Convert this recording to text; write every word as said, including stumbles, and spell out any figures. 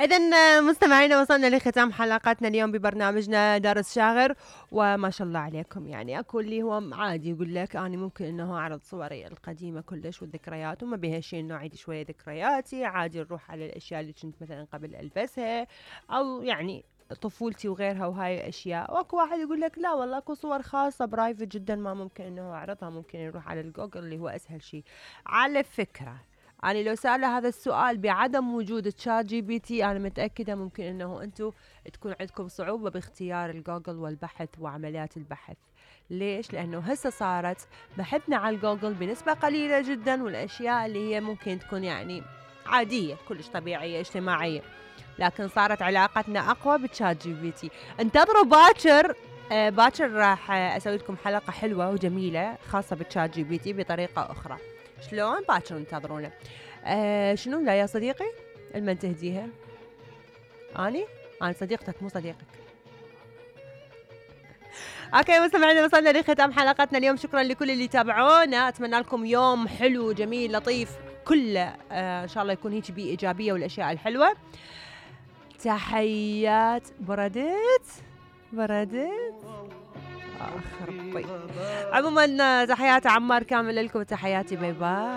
إذن مستمعينا وصلنا لختام حلقتنا اليوم ببرنامجنا دار الشاغر، وما شاء الله عليكم يعني اكو اللي هو عادي يقول لك انا ممكن انه اعرض صوري القديمه كلش والذكريات وما بها شيء انه اعيد شويه ذكرياتي، عادي نروح على الاشياء اللي كنت مثلا قبل البسها او يعني طفولتي وغيرها وهاي الاشياء. واكو واحد يقول لك لا والله اكو صور خاصه برايفت جدا ما ممكن انه اعرضها، ممكن يروح على الجوجل اللي هو اسهل شيء. على فكره أنا لو سأله هذا السؤال بعدم وجود تشات جي بي تي أنا متأكدة ممكن أنه أنتم تكون عندكم صعوبة باختيار الجوجل والبحث وعمليات البحث. ليش؟ لأنه هسه صارت بحثنا على الجوجل بنسبة قليلة جدا، والأشياء اللي هي ممكن تكون يعني عادية كلش طبيعية اجتماعية، لكن صارت علاقتنا أقوى بتشات جي بي تي. انتظروا باكر آه باكر راح أسوي لكم حلقة حلوة وجميلة خاصة بتشات جي بي تي بطريقة أخرى. شلون؟ باكر انتظرونا. آه شنو لا يا صديقي المن تهديها؟ اني انا صديقتك مو صديقك. اوكي مستمعينا وصلنا لختام حلقتنا اليوم، شكرا لكل اللي تابعونا، اتمنى لكم يوم حلو جميل لطيف كله آه ان شاء الله يكون هيك بيه ايجابيه والاشياء الحلوه. تحيات بردت بردت اخ ربي. عموما تحياتي عمار كامل لكم، تحياتي باي باي.